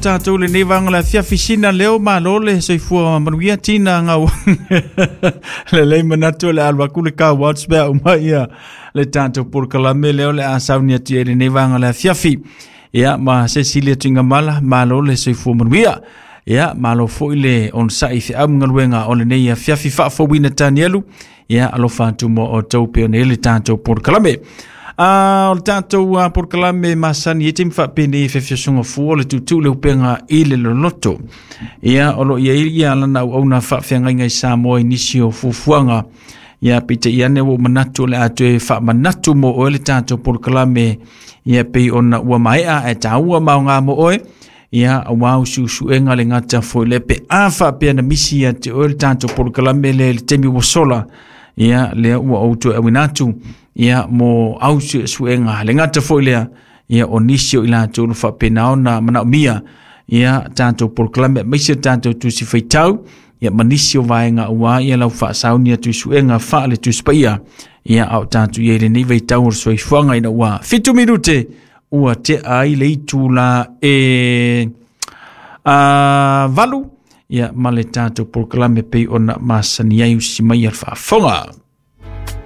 tatou lenei vaega o le afiafi. Sina leo, malo le soifua manuia tina gau. Lelei manatu o le alu atu le car watch pe a uma ia le tatou polokalame lea o le a sauni atu i ai lenei vaega o le afiafi. Ia ma Cecilia Tuigamala, malo le soifua manuia. Ia malo foi le onosai i feau ma galuega o lenei afiafi faafouina Tanielu. Ia alofa atu mo outou pei ona i ai le tatou polokalame. A o le tatou polokalame masani e taimi faapenei e fefiasoga fua o le tuutuu le upega i le loloto. Ia o lo o i ai ia lana auauna faafeagaiga i Samoa i nisi o fuafuaga. Ia peitai ane ua ou manatu o le a toe faamanatu mo oe le tatou polokalame ia pei ona ua maea ae taua ma aoga mo oe. Ia aua usuusuega le gata foi lea pe a faapea na misi ia te oe le tatou polokalame lea i le taimi ua sola. Ia lea ua ou toe auina atu ia mo au suesuega le gata foi lea ia o nisi o i latou ua faapena ona manaomia ia tatou polokalame aemaise tatou tusi faitau ia ma nisi o vaega aua ia lau faasauni atu i suega faale Tusi Paia ia a o tatou i ai i lenei vaitau o le soifuaga ina ua 7 minute ua tea ai le itula e 8 ia ma le tatou polokalame pei ona masani ai usi mai a le faafofoga.